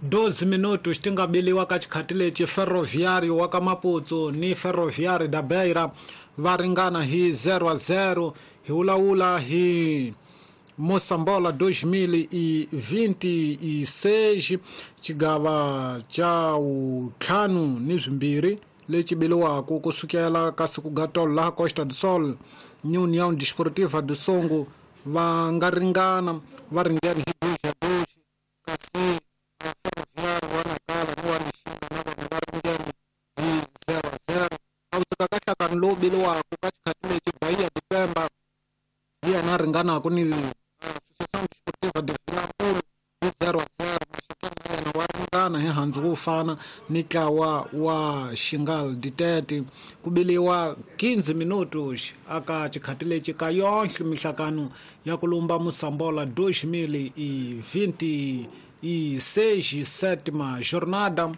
12 minutos ti nga biliwa ka xikhati lexi Ferroviário wa ka Maputo ni Ferroviário da Beira va ringana hi 0-0. Hi vulavula hi Moçambola 2026, xigava xa vuntlhanu ni swimbirhi lexi biliwaka kusukela ka siku gatolo laha Costa do Sol ni União Desportiva do Songo va nga ringana, va ringene hi 2-2, kasi Ferroviário wa Nacala ni wa Lixinga na vona va ringene hi 0-0. A wu tsaka ka nhlakano lowu biliwaka ka xikhati lexi Bahia de Pemba hi yena a ringanaka ni Associação Desportiva de Vilankulu hi 0-0. Maxakeni na yena wa ringana hi handzu wo fana ni ntlawa wa Xingal Ditete. Ku biliwa 15 minutos aka xikhati lexi ka yonhle mihlakano ya ku lumba Moçambola 2026, sétima jornada.